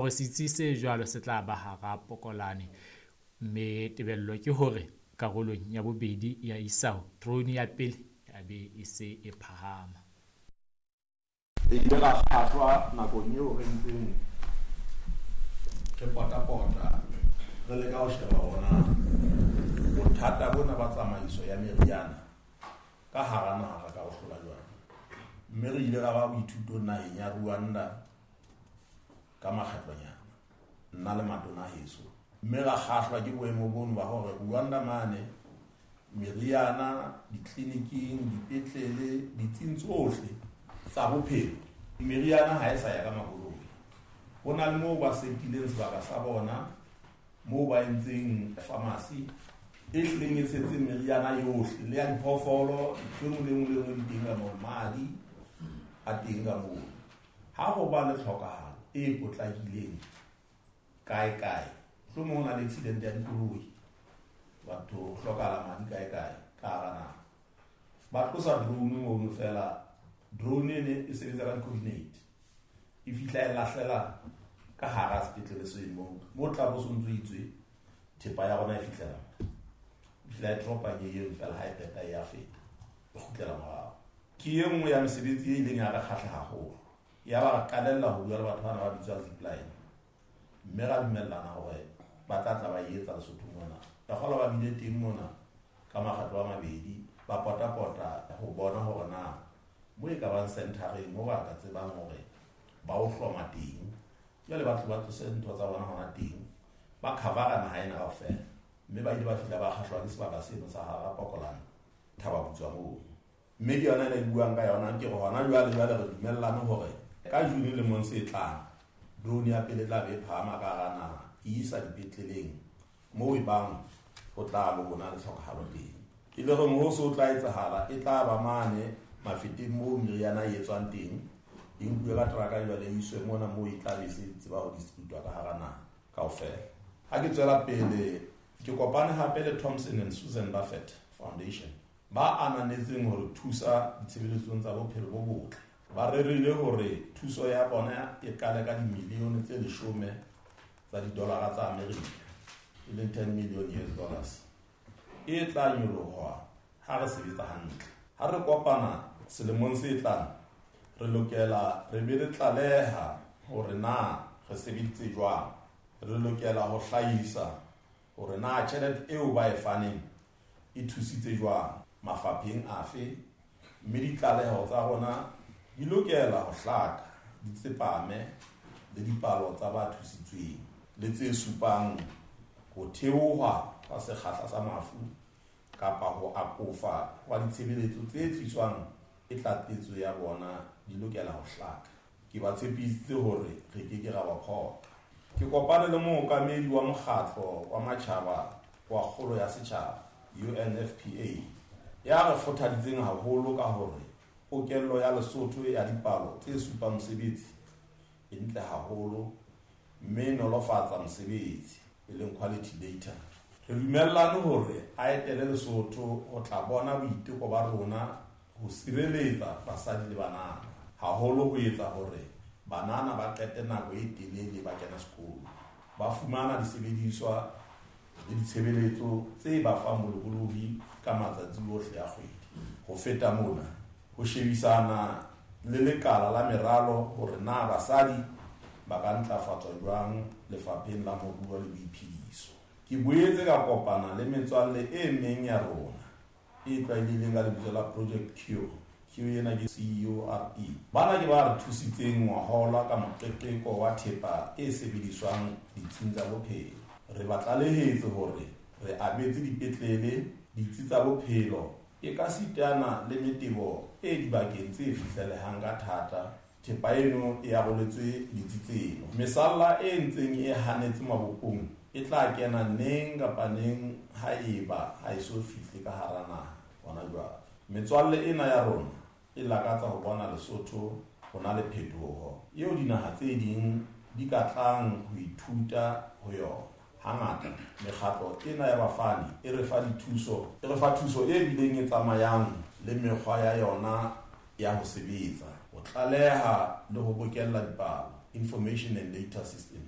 Hore setsi se jwalo se tla ba hara Pokolane, mme tebello ke hore karolong ya bobedi ya isao drone ya pele e be e se e phahama. Re ile ra kgahlwa nakong eo re ntseng re potapota re leka ho sheba hore na bothata bona ba tsamaiso ya meriana ka hara naha re ka bo hlola jwang. Mme re ile ra ba boithutong naheng ya Rwanda ka makgetlonyana, nna le matona heso. Mme ra kgahlwa ke boemo bono ba hore Rwanda mane meriana ditleliniking, dipetlele, ditsing tsohle tsa bophelo, meriana ha e sa ya ka makoloi. Ho na le moo ba setileng sebaka sa bona, moo ba entseng pharmacy e hlileng e tshetseng meriana yohle, le ya diphoofolo, ntho e nngwe le nngwe le nngwe di teng ka moo, madi a teng ka moo. Ha ho ba le tlhokahalo e potlakileng kae kae, mohlomong ho na le accident ya dikoloi, batho ho hlokahala madi kae kae ka hara naha, ba tlosa drone mono fela. Drone ene e sebetsa ka di-coordinate, e fihla e lahlela ka hara sepetlele seno moo, mo tla bo so ntso itswe thepa ya rona e fihlela, e fihla e dropa ke eno fela, ha e qeta e ya feta, e kgutlela morao. Ke e nngwe ya mesebetsi e ileng ya re kgahla haholo. Ya ba re qalella ho bua le batho bana ba bitswa Zipline, mme ra dumellana hore ba tla tla ba e etsa Lesotho mona. Ka kgolwa ba bile teng mona ka makgetlo a mabedi, ba potapota ho bona hore na mo e ka bang centereng mo ba ka tsebang hore ba o hloma teng. Jwale ba tlo ba tlose ntho tsa bona hona teng, ba covera naha ena kaofela. Mme ba ile ba fihla ba kgahlwa ke sebaka seno sa hara Pokolane, Thaba Butswa moo. Mme ke yona ena e buang ka yona, ke re hona jwale jwale re dumellane hore ka June lemong se tlang, drone ya pele e tla be e phahama ka hara naha, e isa dipetleleng moo e bang ho tla bo ho na le tlhokahalo teng. E le hore ho se ho tla etsahala, e tla ba mane mafeteng moo meriana e etswang teng, e nkuwe ka teraka jwale e iswe mona moo e tla be se tseba ho distributwa ka hara naha kaofela. Ha ke tswela pele, ke kopane hape le Thompson and Susan Buffett Foundation, ba ananetseng hore thusa ditshebeletsong tsa bophelo bo botle. Ba rerile hore thuso ya bona e qale ka dimilione tse 10 tsa didolara tsa Amerika, e leng 10 million US dollars, e tla nyoloha ha re sebetsa hantle. Ha re kopana selemong se tlang, re lokela re be re tlaleha hore na re sebeditse jwang. Re lokela ho hlahisa hore na tjhelete eo ba e faneng e thusitse jwang mafapheng afe, mme ditlaleho tsa rona di lokela ho hlaka, di tsepame le dipalo tsa ba thusitsweng le tse supang ho theoha ha sekgahla sa mafu kapa ho akofa hwa ditshebeletso tse tliswang ke tlatsetso ya bona di lokela ho hlaka. Ke ba tshepisitse hore re ke ke ra ba phoqa. Ke kopane le mookamedi wa mokgatlo wa matjhaba wa kgolo ya setjhaba, UNFPA, ya re kgothaditseng haholo ka hore pokello ya Lesotho ya dipalo tse supang mosebetsi e ntle haholo mme e nolofatsa mosebetsi, e leng quality data. Re dumellane hore a etele Lesotho ho tla bona boiteko ba rona ho sireletsa basadi le banana, haholo ho etsa hore banana ba qete nako e telele ba kena sekolo, ba fumana disebediswa le ditshebeletso tse ba fang bolokolohi ka matsatsi ohle a kgwedi. Ho feta mona, ho shebisana le lekala la meralo hore na basadi ba ka ntlafatswa jwang lefapheng la moruo le boiphediso. Ke boetse ka kopana le metswalle e meng ya rona e tlwaelehileng ka lebitso la Project Cure. Cure ena ke CURE. Bana ke ba re thusitseng ngwahola ka moqeqeko wa thepa e sebediswang ditsing tsa bophelo. Re ba tlalehetse hore re abetse dipetlele, ditsi tsa bophelo, e ka sitana le metebo e dibakeng tse fihlelehang ka thata. Thepa eno e aroletswe ditsi tseno. Mesalla e ntseng e hanetse mabopong e tla kena neng kapa neng ha eba ha e so fihle ka hara naha hona jwale. Metswalle ena ya rona e lakatsa ho bona Lesotho ho na le phetoho eo dinaha tse ding di ka tlang ho ithuta ho yona. Hangata mekgatlo ena ya bafani e re fa dithuso, e re fa thuso e bileng e tsamayang le mekgwa ya yona ya ho sebetsa, ho tlaleha le ho bokella dipalo, information and data systems.